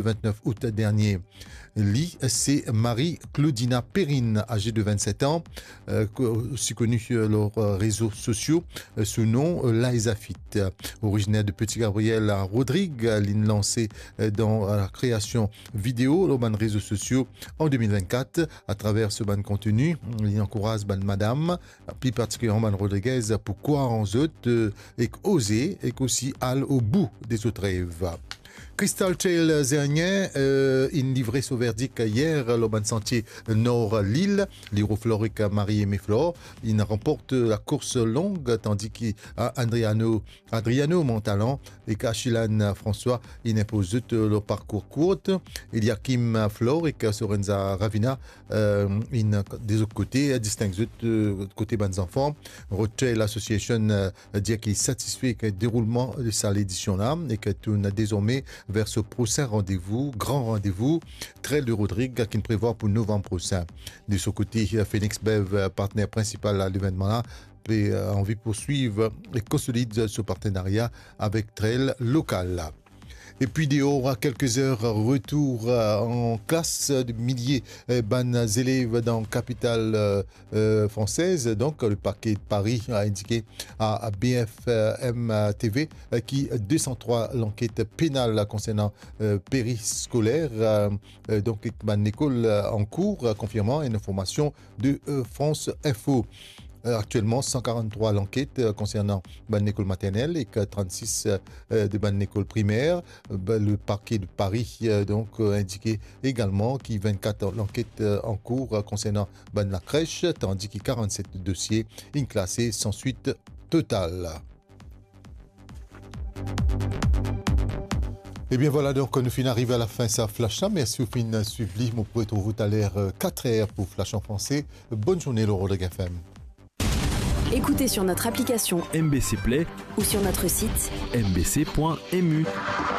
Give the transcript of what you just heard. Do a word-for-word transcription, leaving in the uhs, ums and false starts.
le vingt-neuf août dernier. Li, se Marie Claudina Perrine, âgée de vingt-sept ans, euh, co-, aussi connue, euh, lor, euh, rezo sosio, euh, sou nom, euh, Liza Fit. Originaire de Petit Gabriel à Rodrigues, li lanse, euh, dan la kreasion video lor bann rezo sosio an deux mille vingt-quatre. Atraver so bann konteni, li ankouraz bann madam, pli partikilerman bann Rodriguez, pou krwar an zot, euh, ek oze, ek osi al o bou de zot rev. Crystal Trail Zernier, euh, inn livre so verdik yer lor bann santie nor lil. Liro Flor ek Marie Aimée Flor inn ranport lakours long, tandi ki, ah, Andriano, Adriano Montalan ek Achilane François inn inpoz zot lor parkour kourt. Eliakim Flor ek Sorenza Ravina, euh, inn de zot kote disteng zot, euh, kote bann zanfan. Road Trail Association, euh, dir ki li satisfe ek deroulman de sa ledision la, e ki tourn dezorme ver so prosin randevou, gran randevou, Trail de Rodrigues, ki'nn prevwar pou novanm prosin. De so kote, Phoenix Bev, euh, partner prinsipal a levenman la, pe, euh, anvi pourswiv e konsolid so partenaria avek trail lokal la. Epi deor, a kelke zer, retour, euh, an klas de milie, euh, bann zelev dan kapital, euh, euh, fransez. Donk, le parquet de Paris a indike a, a B F M T V, euh, ki de san trwa lanket penal konsernan, euh, périskoler, euh, euh, donk, bann lekol, euh, an kour, euh, konfirman enn informasion de, euh, France Info. Euh, aktielman, san karant-trwa lanket, euh, konsernan bann lekol maternel ek, euh, trannsis, euh, de bann lekol primer. Euh, ba, le parquet de Paris, euh, donk, euh, indike egalman ki vennkat lanket, euh, an kour, euh, konsernan bann lakres, tandi ki karannset dosie inn klase san swit total. Ebien vwala, donk, nou finn ariv a lafin sa flash la. Mersi ou finn swiv li. Mo pou retrouv ou taler, euh, katr er pou Flash an Franse. Bonn zourne lor Rodrigues F M. Écoutez sur notre application M B C Play ou sur notre site M B C point M U.